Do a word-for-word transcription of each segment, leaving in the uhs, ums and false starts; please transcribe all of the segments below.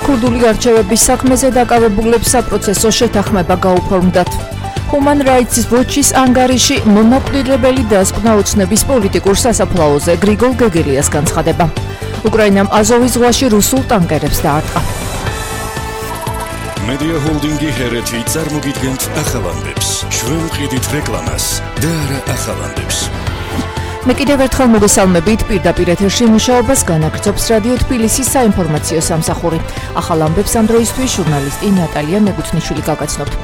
ქურდული გარჩევების საქმეზე დაკავებულებს საპროცესო შეთანხმება გაუფორმდათ. Human Rights Watch-ის ანგარიში მომაკვდინებელი დასკვნა ოცნების პოლიტიკურ სასაფლაოზე გრიგოლ გეგელიას განცხადება. უკრაინამ აზოვის ზღვაში რუსულ ტანკერებს დაარტყა. Media Holding-ი ჰერეთი წარმოგიდგენთ ახალამდებს, შველმყიდით რეკლამას და არა ახალამდებს. მე კიდევ ერთხელ მოგესალმებით პირდაპირ ეთერში მუშაობას განაგრძობს რადიო თბილისის საინფორმაციო სამსახური. ახალ ამბებს ამ დროისთვის ჟურნალისტი ნატალია მეგუთნიშვილი გაგაცნობთ.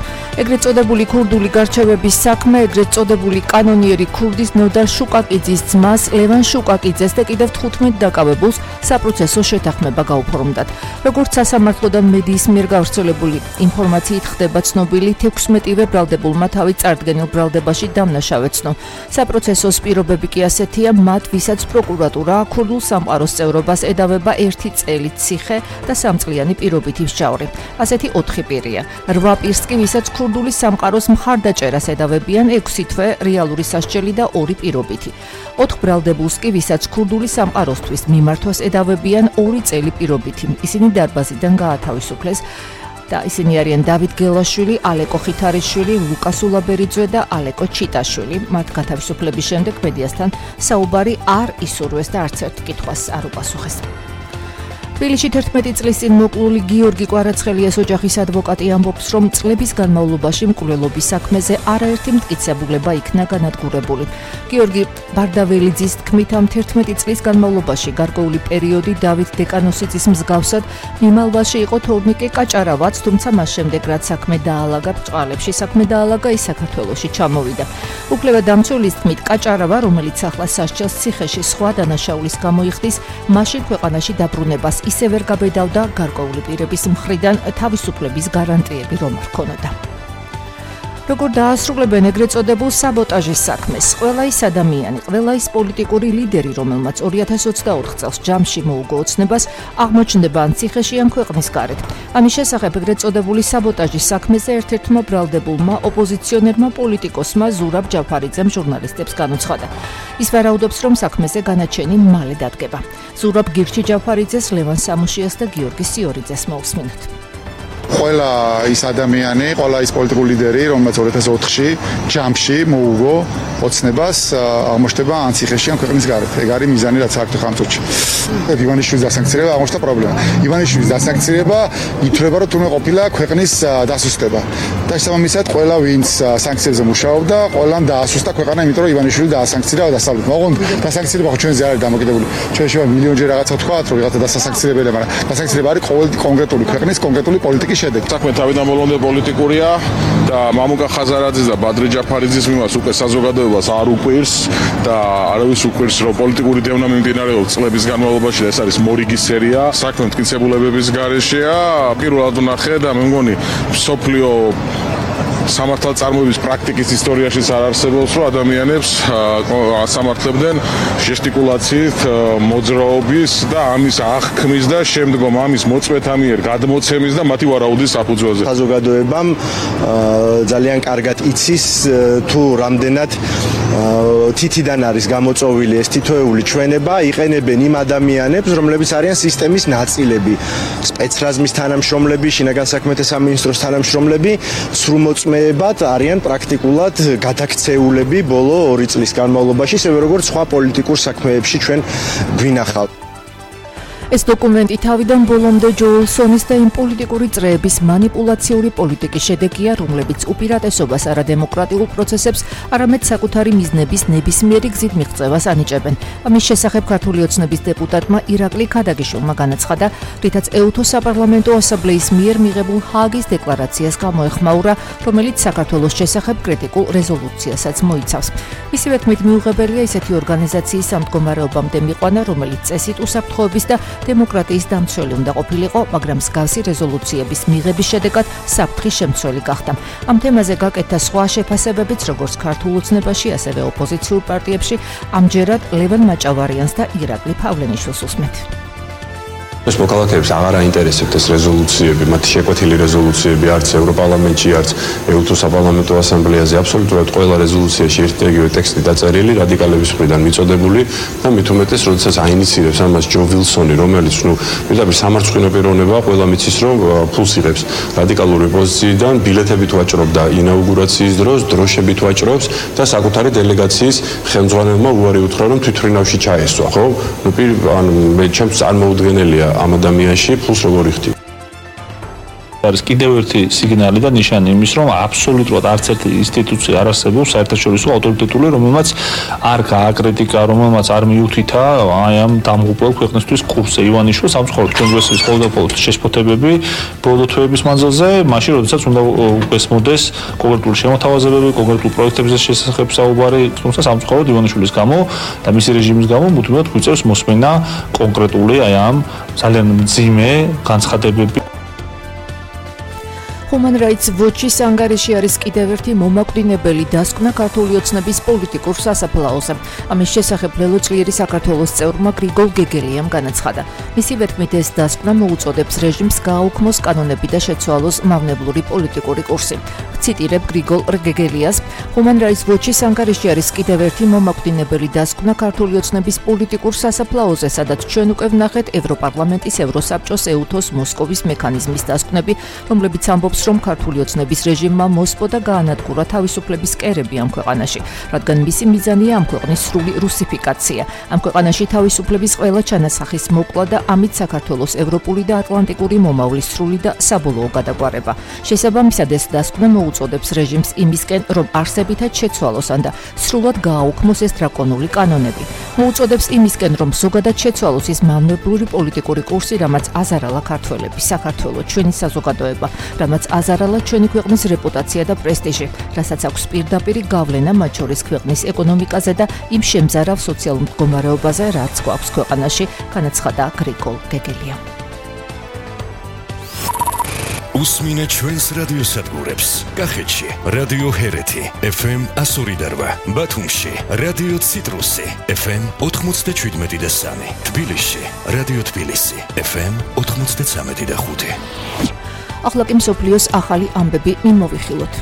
ეგრეთ წოდებული ქურდული გარჩევების საქმე, ეგრეთ წოდებული კანონიერი ქურდის ნოდარ შუკაკიძის ძმას ლევან შუკაკიძეს და კიდევ თხუთმეტ დაკავებულს საპროცესო შეთანხმება გაუფორმდათ. როგორც სასამართლო და მედიის მიერ გავრცელებული ინფორმაციით ხდება ცნობილი, თექვსმეტივე ბრალდებულმა თავი წარდგენილ ბრალდებაში დამნაშავეცნო. საპროცესოს პირობები კი ასეთია, მათ ვისაც პროკურატურა ქურდულ სამყაროს წევრობას ედავება ერთი წელი ციხე და სამწლიანი პირობითი მსჯავრი. ასეთი ოთხი პირია. რვა პირს კი ვისაც ქურდული სამყაროს მხარდაჭერას ედავებიან ექვსი თვე რეალური სასჯელი და ორი პირობითი. ოთხ ბრალდებულს კი ვისაც ქურდული სამყაროსთვის მიმართვას ედავებიან ორი წელი პირობითი. ისინი დარბაზიდან გაათავისუფლეს და ისინი არიან დავით გელაშვილი, ალეკო ხითარიშვილი, ლუკას ულაბერიძე და ალეკო ჩიტაშვილი. მათ გათავისუფლების შემდეგ მედიასთან საუბარი არ ისურვეს და არც ერთ კითხვას არ უპასუხეს. თბილისში თერთმეტი წლის წინ მოკლული გიორგი კვარაცხელიას ოჯახის ადვოკატი ამბობს, რომ წლების განმავლობაში მკვლელობის საქმეზე არაერთი მტკიცებულება იქნა განადგურებული. გიორგი ბარდაველიძის თქმით, ამ თერთმეტი წლის განმავლობაში გარკვეული პერიოდი დავით დეკანოსიძის მსგავსად მიმალვაში იყო თორნიკე კაჭარავაც, თუმცა მას შემდეგ რაც საქმე დაალაგა ბრწყალებში, საქმე დაალაგა ის საქართველოში ჩამოვიდა. უფლებადამცველის თქმით, კაჭარავა, რომელიც ახლა სასჯელს ციხეში სხვა დანაშაულის გამო იხდის, მაშინ ქვეყანაში დაბრუნებას ისე ვერ გაბედავდა გარკვეული პირების მხრიდან თავისუფლების გარანტიები რომ არ ქონოდა. როგორ დაასრულებენ ეგრეთ წოდებულ საბოტაჟის საქმეს? ყველა ის ადამიანი, ყველა ის პოლიტიკური ლიდერი, რომელმაც ორი ათას ოცდაოთხ წელს ჯამში მოუგო ოცნებას, აღმოჩნდება ან ციხეში, ან ქვეყნის გარეთ. ამის შესახებ ეგრეთ წოდებული საბოტაჟის საქმეზე ერთ-ერთმა ბრალდებულმა ოპოზიციონერმა პოლიტიკოსმა ზურაბ ჯაფარიძემ ჟურნალისტებს განუცხადა. ის ვარაუდობს, რომ საქმეზე განაჩენი მალე დადგება. ზურაბ გირჩი ჯაფარიძეს, ლევან სამუშიას და გიორგი სიორიძეს მოусმინოთ. ყველა ის ადამიანი, ყველა ის პოლიტიკური ლიდერი, რომელმაც ორი ათას ოთხში ჯამში მოუგო ოცნებას, აღმოჩნდება ან ციხეში, ან ქვეყნის გარეთ. ეგ არის მიზანი, რაც საერთო ხამწუთში. ივანიშვილის დასანქცირება აღმოჩნდა პრობლემა. ივანიშვილის დასანქცირება ითვლება, რომ თურმე ყოფილა ქვეყნის დასუსტება. და შესაბამისად, ყველა ვინც სანქციებზე მუშაობდა, ყველამ დაასუსტა ქვეყანა, იმიტომ რომ ივანიშვილი დაასანქცირა და დასავლეთ. მაგრამ დასანქცირება ხო ჩვენზე არის დამოკიდებული. ჩვენ შევა მილიონჯერ რაღაცა ვთქვათ, რომ ვიღაცა დასასანქცირებელია, მაგრამ დასანქცირება არის ყოველი კონკრეტული ქვეყნის კონკრეტული პოლიტიკის შედეგი. საქმე თავიდან ბოლომდე პოლიტიკურია და მამუკა ხაზარაძის და ბადრი ჯაფარიძის მიმართ უკვე საზოგადოებას არ უყვირს და არავის უყვირს, რომ პოლიტიკური დევნა მიმდინარეობს წლების განმავლობაში და ეს არის მორიგი სერია. საქმე მტკიცებულებების გარეშეა. პირველად ვნახე და მე მგონი სოფლიო სამართალწარმოების პრაქტიკის ისტორიაშიც არ არსებობს, რომ ადამიანებს ასამართლებდნენ ჟესტიკულაციით, მოძრაობის და ამის აღქმის და შემდგომ ამის მოწვეთა მიერ გადმოცემის და მათი ვარაუდის საფუძველზე. საზოგადოებამ ძალიან კარგად იცის თუ რამდენად თითიდან არის გამოწოვილი ეს თითოეული ჩვენება, იყენებენ იმ ადამიანებს, რომლებიც არიან სისტემის ნაწილები, სპეცრაზმის თანამშრომლები, შინაგან საქმეთა სამინისტროს თანამშრომლები, სრულმოწმეებად არიან პრაქტიკულად გადაქცეულები ბოლო ორი წლის განმავლობაში, ისევე როგორც სხვა პოლიტიკურ საქმეებში ჩვენ გვინახავთ. ეს დოკუმენტი თავიდან ბოლომდე ჯოელსონის და იმ პოლიტიკური წრეების манипуლაციური პოლიტიკის შედეგია, რომლებიც უპირატესობას არა დემოკრატიულ პროცესებს, არამედ საკუთარი მიზნების ნებისმიერი გზით მიღწევას ანიჭებენ. ამის შესახებ ქართული ოცნების დეპუტატმა ირაკლი ქადაგიშვილმა განაცხადა, რითაც ეუთო საპარლამენტო ასამბლეის მიერ მიღებულ ჰააგის დეკლარაციას გამოეხმაურა, რომელიც საქართველოს შესახებ კრიტიკულ რეზოლუციასაც მოიცავს. მისივე თქმით, მიუღებელია ისეთი ორგანიზაციის სამდგომარეობამდე მიყვანა, რომელიც წესით უსაფრთხოების და დემოკრატიის დამცველი უნდა ყოფილიყო, მაგრამ მსგავსი რეზოლუციების მიღების შედეგად საფრთხის შემცველი გახდა. ამ თემაზე გაკეთდა სხვა შეფასებებიც, როგორც ქართულ ოცნებაში, ასევე ოპოზიციურ პარტიებში, ამჯერად ლევან მაჭავარიანს და ირაკლი ფავლენიშვილს უსმენთ. ეს მოქალაქეებს აღარ აინტერესებთ ეს რეზოლუციები, მათი შეკვეთილი რეზოლუციები არც ევროპარლამენტში, არც ე-უთო საპარლამენტო ასამბლეაზე, აბსოლუტურად ყველა რეზოლუციაში ერთი და იგივე ტექსტი დაწერილი, რადიკალების მხრიდან მიწოდებული და მით უმეტეს, როდესაც აინიცირებს ამას ჯო ვილსონი, რომელიც ნუ პირდაპირ სამარცხვინო პიროვნება, ყველა მიცის რომ ფულს იღებს რადიკალური პოზიციიდან, ბილეთებით ვაჭრობდა ინაუგურაციის დროს, დროშებით ვაჭრობს და საკუთარი დელეგაციის ხელმძღვანელმა უარი უთხრა, რომ თვითმფრინავში ჩაესვა, ხო? ნუ პირ ანუ მე ჩემს წარმოუდგენელია ამ ადამიანში ფულს როგორ იხდი. არის კიდევ ერთი სიგნალი და ნიშანი იმის, რომ აბსოლუტურად არც ერთი ინსტიტუცია არ არსებობს საერთაშორისო ავტორიტეტული, რომელმაც არ გააკრიტიკა, რომელმაც არ მიუთითა აი ამ დამღუპველ ქვეყნისთვის კურსზე ივანიშვილს, სამწუხაროდ კონგრესის ყოველდღიურ შეშფოთებები ბოლო თვეების მანძილზე, მაშინ როდესაც უნდა უესმოდეს კონკრეტული შემოთავაზებები, კონკრეტულ პროექტებზე შესახებ საუბარი, თუმცა სამწუხაროდ ივანიშვილის გამო და მისი რეჟიმის გამო მუდმივად გვიწევს მოსმენა კონკრეტული აი ამ ძალიან მძიმე განცხადებები. Human Rights Watch-ის ანგარიში არის კიდევ ერთი მომაკვდინებელი დასკვნა ქართული ოცნების პოლიტიკურ სასაფლაოზე. ამის შესახებ ლელოწლიერი საქართველოს წევრმა გრიგოლ გეგელიამ განაცხადა. მისი ვეთქმით ეს დასკვნა მოუწოდებს რეჟიმს გააუქმოს კანონები და შეცვალოს მავნებლური პოლიტიკური კურსი. ციტირებ გრიგოლ გეგელიას, Human Rights Watch-ის ანგარიში არის კიდევ ერთი მომაკვდინებელი დასკვნა ქართული ოცნების პოლიტიკურ სასაფლაოზე, სადაც ჩვენ უკვე ვნახეთ ევროპარლამენტის, ევროსაბჭოს, ე-უთოს, მოსკოვის მექანიზმის დასკვნები, რომლებიც ამბობს რომ ქართული ოცნების რეჟიმმა მოსპო და გაანადგურა თავისუფლების კერები ამ ქვეყანაში, რადგან მისი მიზანია ამ ქვეყნის სრული რუსიფიკაცია. ამ ქვეყანაში თავისუფლების ყველა ჩანასახის მოკლა და ამით საქართველოს ევროპული და ატლანტიკური მომავლის სრული და საბოლოო გადაგვარება. შესაბამისად ეს დასკვნა მოუწოდებს რეჟიმს იმისკენ, რომ არსებითად შეცვალოს ან და სრულად გააუქმოს ეს დრაკონული კანონები. მოუწოდებს იმისკენ, რომ ზოგადად შეცვალოს ის მავნებლური პოლიტიკური კურსი, რამაც აზარალა ქართველები, საქართველო, ჩვენი საზოგადოება, რამაც აზარალა ჩვენი ქვეყნის რეპუტაცია და პრესტიჟი, რასაც აქვს პირდაპირი გავლენა მათ შორის ქვეყნის ეკონომიკაზე და იმ შემზარავ სოციალურ მდგომარეობაზე, რაც გვაქვს ქვეყანაში, განაცხადა გრიგოლ გეგელიამ. უსმინე ჩვენს რადიოსადგურებს. კახეთში რადიო ჰერეთი ეფ ემ εκατო ორი და რვა, ბათუმში რადიო ციტრუსი ეფ ემ ოთხმოცდაშვიდმეტი და სამი, თბილისში რადიო თბილისი ეფ ემ ოთხმოცდაცამეტი და ხუთი. ახლა კი მსოფლიოს ახალი ამბები მიმოვიხილოთ.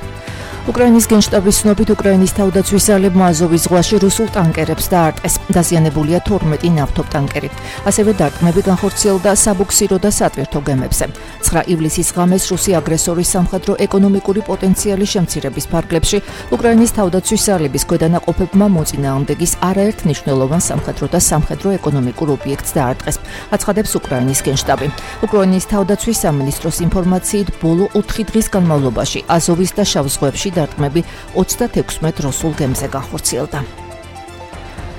უკრაინის გენშტაბის ცნობით უკრაინის თავდაცვის ძალებმა აზოვის ზღვაში რუსულ ტანკერებს დაარტყეს. დაზიანებულია თორმეტი ნავთობტანკერი. ასევე დარტყმები განხორციელდა საბუქსირო და სატვირთო გემებზე. ცხრა ივლისის ღამეს რუსი აგრესორის სამხედრო ეკონომიკური პოტენციალის შემცირების ფარგლებში უკრაინის თავდაცვის ძალების ქვედანაყოფებმა მოწინააღმდეგის არაერთ მნიშვნელოვან სამხედრო და სამხედრო ეკონომიკურ ობიექტს დაარტყეს. აცხადებს უკრაინის გენშტაბი. უკრაინის თავდაცვის სამინისტროს ინფორმაციით ბოლო ოთხი დღის განმავლობაში აზოვის და შავ ზღვებში დარტყმები ოცდათექვსმეტ რუსულ გემზე განხორციელდა.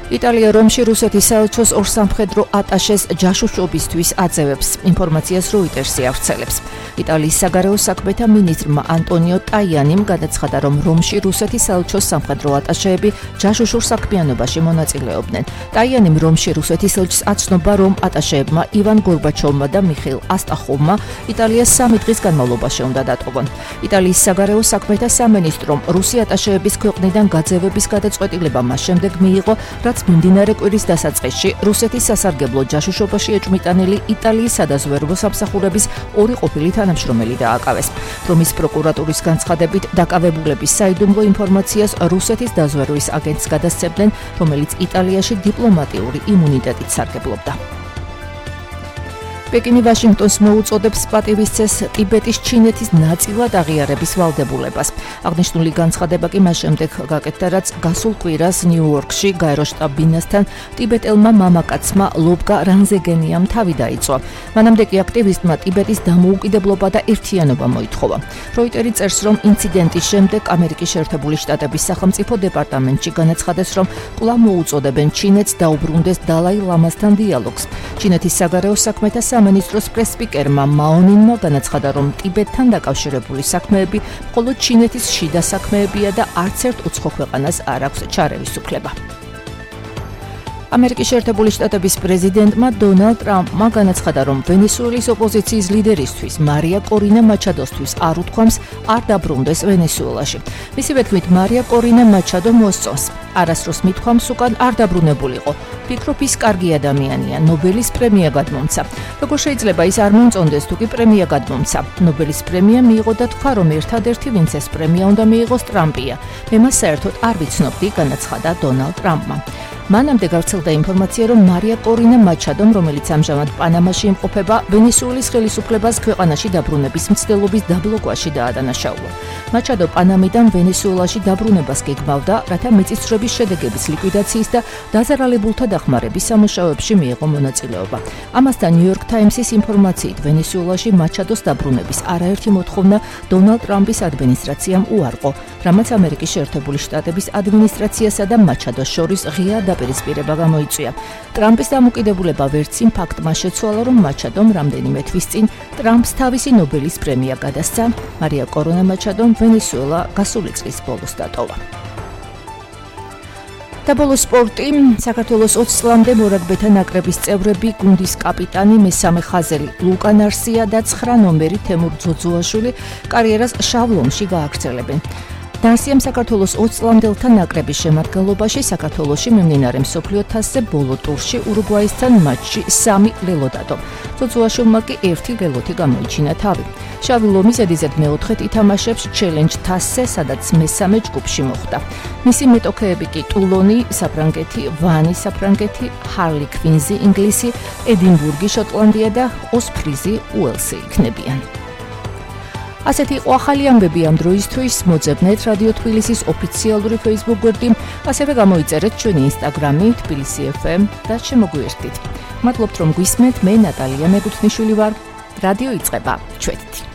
იტალია რომში რუსეთის საელჩოს ორ სამხედრო ატაშეს ჯაშუშობისთვის აძევებს. ინფორმაციას როიტერსი ავრცელებს. იტალიის საგარეო საქმეთა მინისტრმა ანტონიო ტაიანიმ განაცხადა, რომ რომში რუსეთის საელჩოს სამხედრო ატაშეები ჯაშუშურ საქმიანობაში მონაწილეობდნენ. ტაიანიმ რომში რუსეთის ელჩს აცნობა, რომ ატაშეებმა ივან გორბაჩოვმა და მიხეილ ასტახოვმა იტალიას სამი დღის განმავლობაში უნდა დატოვონ. იტალიის საგარეო საქმეთა სამინისტრომ რუსი ატაშეების ქვეყნიდან გაძევების გადაწყვეტილება მას შემდეგ მიიღო, რაც მიმდინარე კვირის დასაწყისში რუსეთის სასარგებლო ჯაშუშობაში ეჭვმიტანილი იტალიის სადაზვერვო სამსახურების ორი ყოფილი თანამშრომელი დააკავეს. რომის პროკურატურის განცხადებით დაკავებულების საიდუმლო ინფორმაციას რუსეთის დაზვერვის აგენტს გადასცემდნენ, რომელიც იტალიაში დიპლომატიური იმუნიტეტით სარგებლობდა. პეკინი ვაშინგტონს მოუწოდებს პატივისცეს ტიბეტის ჩინეთის ნაწილად აღიარების ვალდებულებას. აღნიშნული განცხადება კი მას შემდეგ გაკეთდა, რაც გასულ კვირას ნიუ-იორკში გაეროშტაბ-ბინასთან ტიბეტელმა მამაკაცმა ლობგა რანზეგენიამ თავი დაიწვა. მანამდე კი აქტივისტმა ტიბეტის დამოუკიდებლობა და ერთიანობა მოითხოვა. როიტერი წერს, რომ ინციდენტის შემდეგ ამერიკის შეერთებული შტატების სახელმწიფო დეპარტამენტში განაცხადეს, რომ კვლავ მოუწოდებენ ჩინეთს დაუბრუნდეს დალაი ლამასთან დიალოგს. ჩინეთის საგარეო საქმეთა სამინისტროს პრესსპიკერმა მაონინმა განაცხადა, რომ ტიბეტთან დაკავშირებული საქმეები მხოლოდ ჩინეთის შიდა საქმეებია და არც ერთ უცხო ქვეყანას არ აქვს ჩარევის უფლება. ამერიკის შეერთებული შტატების პრეზიდენტმა დონალდ ტრამპმა განაცხადა, რომ ვენესუელის ოპოზიციის ლიდერისთვის მარია კორინა მაჩადოსთვის არ უთქვამს არ დაბრუნდეს ვენესუელაში. მისივე თქმით, მარია კორინა მაჩადო მოსწონს. არასდროს მithქვამს უკან არ დაბრუნებულიყო. ფიქრობ ის კარგი ადამიანია, ნობელის პრემია გადმომცა. როგორ შეიძლება ის არ მომწონდეს თუ კი პრემია გადმომცა? ნობელის პრემია მიიღო და თქვა, რომ ერთადერთი ვინც ეს პრემია უნდა მიიღოს ტრამპია. მე მას საერთოდ არ ვიცნობდი, განაცხადა დონალდ ტრამპმა. მანამდე გავრცელდა ინფორმაცია, რომ მარია კორინა მაჩადომ, რომელიც ამჟამად პანამაში იმყოფება, ვენესუელის ხელისუფლებას ქვეყანაში დაბრუნების მცდელობის დაბლოკვაში დაადანაშაულა. მაჩადო პანამიდან ვენესუელაში დაბრუნებას გეგმავდა, რათა მიწისძვრების შედეგების ლიკვიდაციის და დაზარალებულთა დახმარების სამუშაოებში მიიღო მონაწილეობა. ამასთან ნიუ-იორკ ტაიმსის ინფორმაციით, ვენესუელაში მაჩადოს დაბრუნების არაერთი მოთხოვნა დონალდ ტრამპის ადმინისტრაციამ უარყო, რამაც ამერიკის შეერთებული შტატების ადმინისტრაციასა და მაჩადოს შორის ღია დაპირისპირება გამოიწვია. ტრამპის დამოკიდებულება ვერც იმ ფაქტმა შეცვალა, რომ მაჩადომ რამდენიმე თვის წინ ტრამპს თავისი ნობელის პრემია გადასცა. მარია კორინა მაჩადომ ვენესუელა გასული წლის ბოლოს დატოვა. და ბოლოს სპორტი. საქართველოს ოცი წლამდე მორაგბეთა ნაკრების წევრები, გუნდის კაპიტანი, მესამე ხაზელი ლუკა ნარსია და ცხრა ნომერი თემურ ძოძუაშვილი კარიერას შავლომში გააგრძელებენ. ნარსიამ საქართველოს ოცი წლამდელთა ნაკრების შემადგენლობაში საქართველოში მიმდინარე მსოფლიო თასზე ბოლო ტურში ურუგვაისთან მატჩში სამი ლელო დადო. ძოძუაშვილმა კი ერთი ლელოთი გამოიჩინა თავი. შავი ლომი ზედიზედ მეოთხედ ითამაშებს ჩელენჯ თასზე, სადაც მესამე ჯგუფში მოხვდა. მისი მეტოქეები კი ტულონი, საფრანგეთი, ვანი, საფრანგეთი, ჰარლი კვინზი, ინგლისი, ედინბურგი, შოტლანდია და ოსპრიზი, უელსი იქნებიან. ასეთი იყო ახალი ამბები ამ დროისთვის. მოძებნეთ რადიო თბილისის ოფიციალური Facebook გვერდი, ასევე გამოიწერეთ ჩვენი Instagram-ი თბილისი ეფ ემ და შემოგვიერთდით. მადლობთ რომ გვისმენთ, მე ნატალია მეგუთნიშვილი ვარ. რადიო იწყება. ჩვენით.